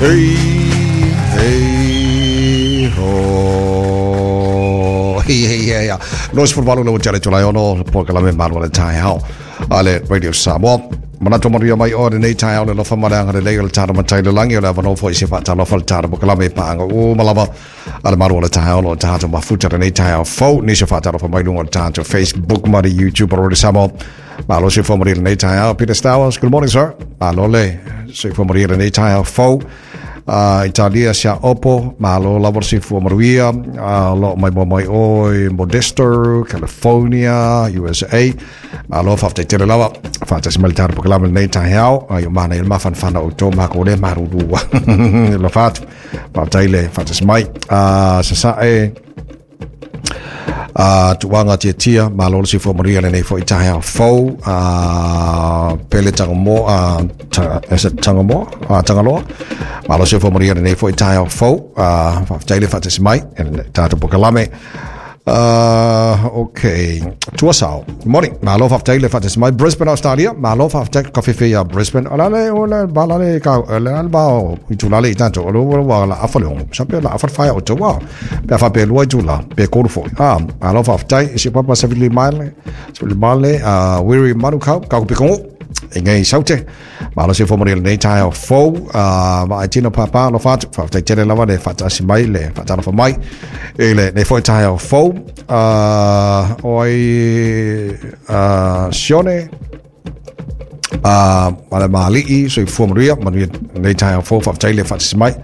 Hey, hey, ho. Hey, hey, hey, hey. 28 le tele tolai ono polokalame Malu o le Taeao a le Radio Samoa. Manatu manuia mai oe lenei taeao le alofa ma le agalelei o le tatou Matai i le lagi o le avanoa foi se faatalofa le tatou polokalame paaga uma lava a le Malu o le Taeao o lo o tatou mafuta lenei taeao fou nisi o faatalofa mai luga o le tatou Facebook ma le YouTube o Radio Samoa. Malo soifua manuia lenei taeao. Peter Stowers, good morning, sir. Malo le soifua manuia lenei taeao fou. Italia sia opo, malo lava le soifua manuia. Lo mai mo mai oi Modesto, California, USA. Malo faafetai tele lava. Faatasi mai le tatou polokalame lenei taeao. Ai o mana i le mafanafana o tō mako le marurua. Lo fatu. Faafetai le faatasi mai. Sasae tuaga tiatia malo le soifua manuia lenei foi taeao fou pele tangamoa is it tangamoa tangaloa malo soifua manuia lenei foi taeao fou faafetai le faatasi mai e le tatou polokalame. Okay. Tuasao. Morning. Malo faafetai le faatasi mai. Brisbane, Australia. Malo faafetai ka fefe ia Brisbane. O lale o le ba lale ka le al ba o i tulale i tatou. O le wa la afa le ongo. Sa pe la afa whaia o tau Pe a whape lua i tula. Pe koru foi. Malo faafetai. Si papa sa vili male. Sa vili male. Wiri Manukau. Ka kupi kongo. E ngai saute. Malo soifua manuia lenei taeao fou. Ma ai tino pāpā alofa atu. Faafetai tele lava le faatasi mai le faatalofa mai. I lenei foi taeao fou. O ai Sione ma le Malii, soifua manuia, manuia lenei taeao fou, faafetai le faatasi mai.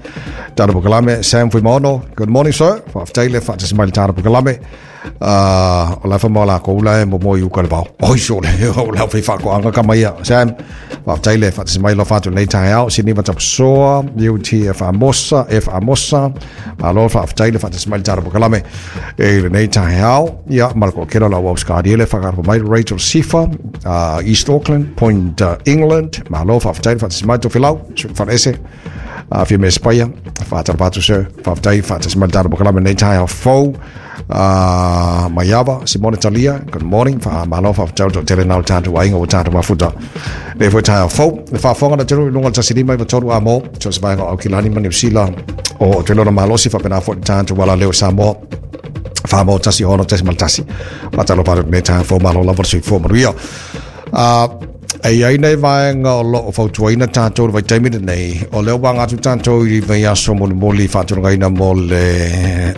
Tala Pukalame, Sam Fuimaono, good morning sir, faafetai le faatasi mai le Tala Pukalame. O la whamau la ko ula e mo mo i uka le vao. Oi sole, o la whai whakoanga ka mai Sam, faafetai le faatasi mai lo whatu nei taeao, Sini Matapasoa, UTF Amosa, F Amosa, malo faafetai le faatasi mai le Tala Pukalame. E lenei taeao, ia, ma le kookelo la wau skadi le whakarapa mai Rachel Sifa, East Auckland, Point England, malo faafetai le faatasi mai Tofilau, whanese, fia me spaia, whaatalapa atu sir, faafetai faatasi mai le tatou polokalame lenei taeao fou, Maiava, Simone Talia, good morning, wha malo faafetai o tele nau tatou aiga o tatou mafuta. Nei foi taeao fou, le faafofoga na telu i luga o le 15 3 a mo, so se vaega o Aukilani ma Niu Sila, o te lona malosi faapena foi le tatou ala leo Samoa. Whamau tasi hono tasi mal tasi. Whatalo paru me taeao fou malo lava le soifua manuia. E i ai nei vaega o lo o fautuaina tatou i le vaitaimi lenei, o lea ua aga atu tatou i vaiaso molimoli faatulagaina mo le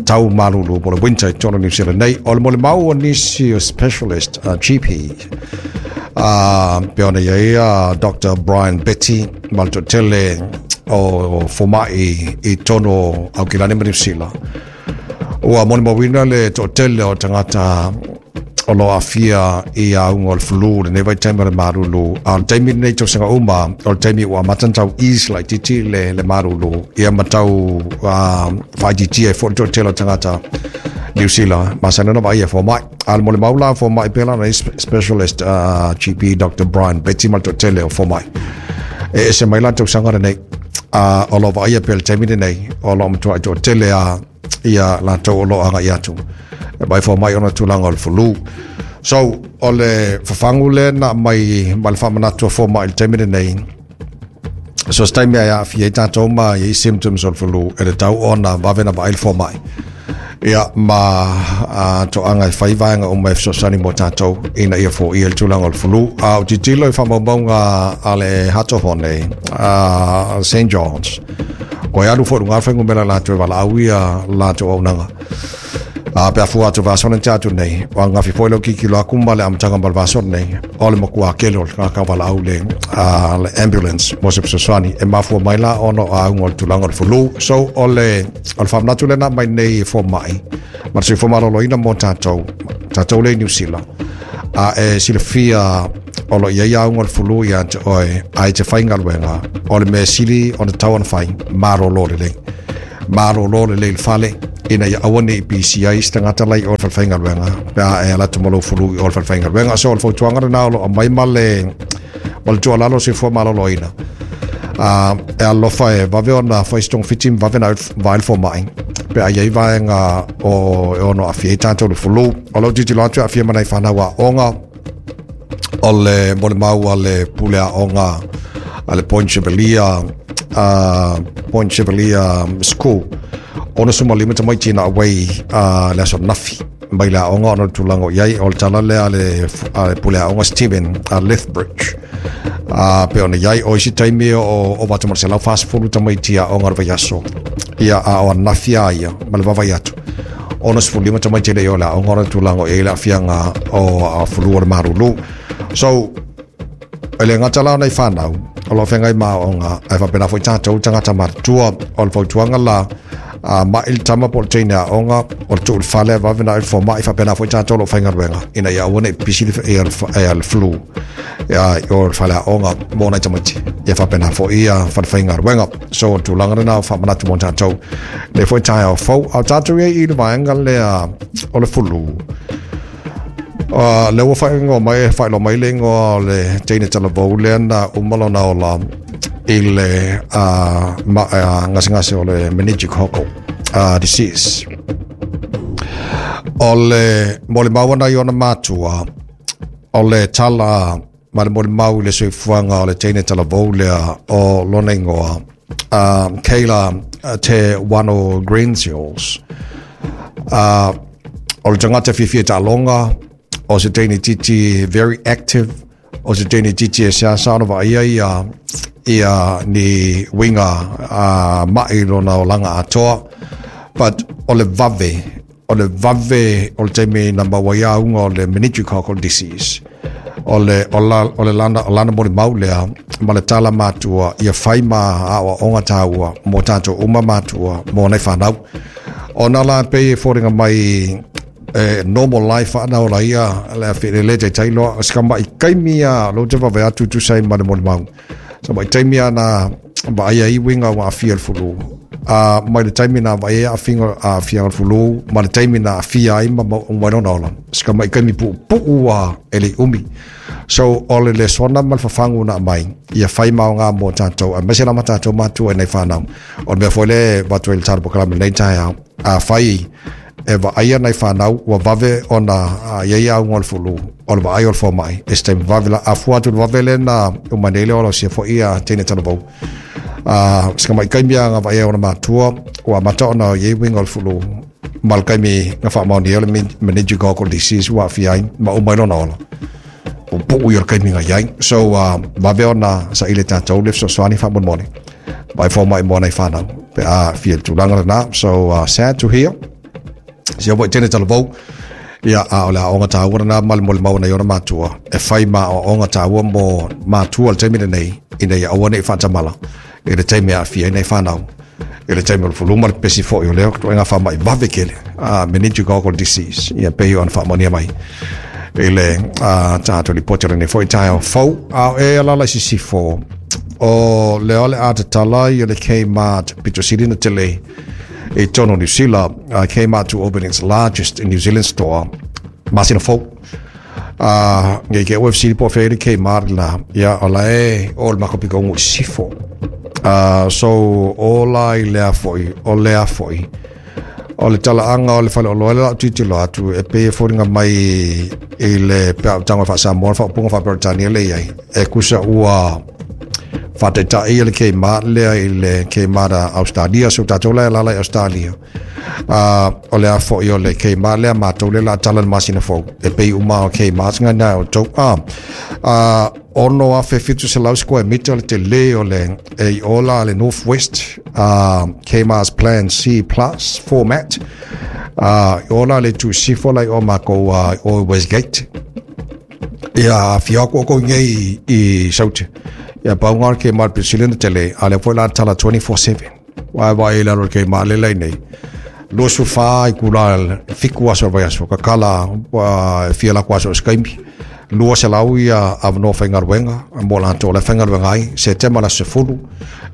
tau malulu po le winter i totonu o Niu Sila nei. O le molimau o nisi o specialist GP, pe ona i ai Dr. Brian Betty ma le toatele o fomai i totonu o Aukilani ma Niu Sila. Ua molimauina le toatele o tagata o lo o aafia i auga o le flu lenei vaitaimi o le malulu. A o le taimi lenei tausaga uma, o le taimi ua amata ona tau ease laitiiti le, le malulu, ia ma tau faaitiitia ai foi le toatele o tagata Niu Sila, masani ona vaai e fomai. A o le molimau la fomai pea la specialist GP Dr. Brian Betty ma le toatele o fomai. E ese mai la tausaga lenei, o lo o vaaia pea le taimi lenei, o lo o matuai toatele a ia latou o lo o agai atu e mai fomai ona tulaga o le flu. So, o le fafagu lea na aumai ma le faamanatu a fomai i le taimi lenei, so se taimi e aafia ai tatou ma i ai symptoms o le flu, e tatau ona vave ona vaai le fomai. Ia, ma toaga e fai vaega uma e fesoasoani mo tatou ina ia foia le tulaga o le flu. A o tilotilo i faamaumauga a le Hato Hone, St. John's, koe alu foi luga fuainumera latou e valaau ia latou auaunaga. A pe a fua atu vaiaso nei atu nei, o ananafi foi leo tilotilo atu ma le amataga ma le vaiaso nei, o le matua tele o le tagata valaau le, le ambulance mo se fesoasoani e mafua mai la ona o auga o le tulaga o le flu. So o le, o le faamanatu lena mai nei e fomai ma le soifua maloloina mo tatou, tatou le i Niu Sila. A e silafia o lo o i ai auga o le flu ia te oe, a e te faigaluega, o le mea sili ona tatau ona fai, malolo lelei. Malolo lelei i le fale, ina ia aua ne i pisi ai se tagata la i o i le falefaigaluega, pe a e alu atu ma lou flu i o i le falefaigaluega. So o le fautuaga lena o lo o aumai ma le, ma le tuualalo o le soifua maloloina. E alofa e vave ona fai se togafiti ma vave ona vaai le fomai pe a i ai vaega o e ono aafia ai tatou i le flu. O lou tilotilo atu e aafia ma nai fanau aoga o le molimau a le pule aoga a le Point Chevalier Point Chevalier School, 65 tamaiti na away le aso nafi mai le aoga ona o le tulaga o i ai. O le tala lea a le pule aoga Stephen Lethbridge. Pe ona i ai o isi taimi o ova atu ma le 140 tamaiti aoga o le vaiaso. Ia, a o ananafi lava ia ma le vaavaai atu, 65 tamaiti e le i o i le aoga ona o le tulaga o i ai le aafiaga o fulu o le malulu. So, e le gata la o nai fanau o lo o feagai ma aoaoga, ae faapena foi tatou tagata matutua. O le fautuaga la, a mai le tama po o le teine aoga, o le tuu i le fale ae vave ona ave i le fomai, faapena foi tatou o lo o faigaluega, ina ia aua ne i pipisi le flu i o i le fale aoga mo nai tamaiti, ia faapena foi ia falefaigaluega. So o le tulaga lena o faamanatu mo tatou lenei foi taeao fou. A o tatou i ai i le vaega lea o le fulu, lea ua faaigoa mai, faailoa mai le igoa o le teine talavou lea na uma lona ola i le gasegase o le meningococcal disease. O le molimau ana i ona matua, o le tala ma le molimau i le soifuaga o le teine talavou lea o lona igoa, Kayla Te Wano Greensills. O le tagata fiafia i taaloga, o se teine titi very active, o se teine titi e seasea ona vaaia ia ni uiga mai lona olaga atoa. But o le vave, o le vave o le taimi na maua ai auga o le meningococcal disease. O le, o la, o le lana, o lana molimau lea ma le tala matua ia fai ma aoaoga taua mo tatou uma matua mo nai fanau. Ona la pei e foliga mai e normal life ana ola ia le afi le le taitai loa se ka mai taimi a lo te vave atu tusa ai ma le molimau. Sa mai taimi ana vaai ai uiga ua aafia i le fulu. A mai le taimi na vaai ai aafiga aafia o le fulu ma le taimi na aafia ai ma uma ai lona ola. Se ka mai taimi puupuu a e le i umi. So o le lesona ma le fafagu na aumai ia fai ma aoga mo tatou aemaise lava tatou matua i nai fanau. O le mea foi lea e avatu ai le tala polokalame i lenei taeao, afai e vaaia nai fanau ua vave ona i ai auga o le fulu, o le vaai o le fomai, e se taimi vave la, a fua atu i le vave lea na uma nei le ola o sia foi ia teine talavou. Se ka mai taimi a nga vaai ai ona matua, ua amata ona i ai uiga o le fulu, ma le taimi na faamaonia ai o le meningococcal disease ua aafia ai ma uma ai lona ola. Puupuu ia o le taimi na i ai. So, vave ona saili e tatou le fesoasoani faamolemole. Vaai fomai mo nai fanau pe a aafia i le tulaga lena. So, sad to hear. Sia foi teine talavou. Ia, a o le aoaoga taua lena ma le molimau ana i ona matua, e fai ma aoaoga taua mo matua i le taimi lenei, ina ia aua ne i faatamala i le taimi e aafia ai nai fanau i le taimi o le fulu ma le pepesi foi o lea ituaiga faamai vave tele, meningococcal disease, ia pei ona faamaonia mai i le tatou lipoti o lenei foi taeao fou. A o e alaala i sisifo, o lea o le a tatala ia le Kmart pito sili ona tele i totonu o Niu Sila, Kmart to open its largest New Zealand store masina fou. Nei ke ua fesili po o fea i le Kmart la, ia o la e o le matou pitoga i sisifo. So o la i lea foi, o lea foi, o le talaaga o le faleoloa lea o le a ou tilotilo atu, e pei e foliga mai i le pe a ou tago e faa-Samoa le faaupuga faa-Peretania lea e i ai, e kusa ua faataitai le Kmart lea i le Kmart a Australia, so tatou la e alaala i Australia. O le a foi o le Kmart lea matou lea o le a tala i le masina fou, e pei uma o Kmart nga na o tou. 6,700 square meter le tele o le e i o la le North West, Kmart's Plan C Plus format. I o la le itu sisifo la i o makou o Westgate. Ia afio atu outou nei i Saute. Ia pau nga o le Kmart pito sili ona tele, a lea foi la tala 24/7. Ua e vaai i lalo o le Kmart lea la i nei. 24 itula 7 aso o le vaiaso, tatala e fia latou aso i se taimi. 200 ia avanoa faigaluega mo latou o la e faigaluega ai. Setema le aso 10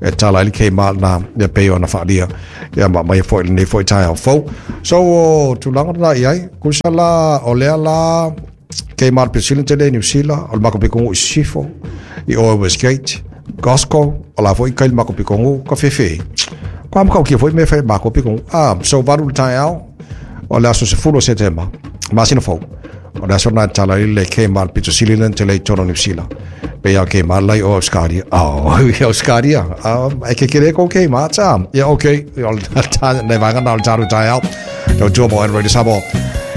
e tala ai le Kmart na ia pei ona faaalia ia ma aumaia foi i lenei foi taeao fou. So o tulaga lena i ai, tusa la o lea la Kmart pito sili ona tele i Niu Sila, o le matou pitoga i sisifo, i o i Westgate, Costco, o la foi kai le matou pitoga ka fefe. Ko a matautia foi mea e fai e matou pitoga. So 8 i le taeao o le aso 10 o Setema, masina fou. O le aso na tala i le Kmart pito sili le tele i tolo Niu Sila. Pe ia Kmart lai o Australia. Oh, i Australia. E ke kere ko Kmart sa. Ia okay. O ta ne vanga na o taru tai au. Tau tua mo Android Samoa.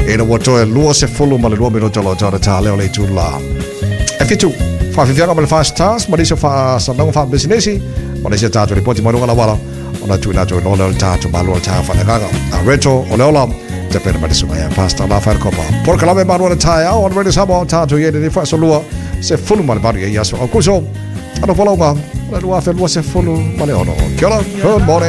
E na ua toe 22 minuto lo tau ta leo le tu la. E fitu. Whawhiwhianga ma le Fast Stars, ma nisi o whaasanaunga wha-bisinesi, ma nisi o tātou ripoti mai runga lawala, o na tuina atu i lole o le tātou malo o le tātou whanagaga. A reto o le ola, te pena mai le sunga ia Pastor La Wharekopa. Porokalame malu o le taeao, on Radio Samoa, tātou i e whaso lua, se fulu ma le valu ia aso. O kuso, ano whalaunga, o le 2026. Kia ora, good morning.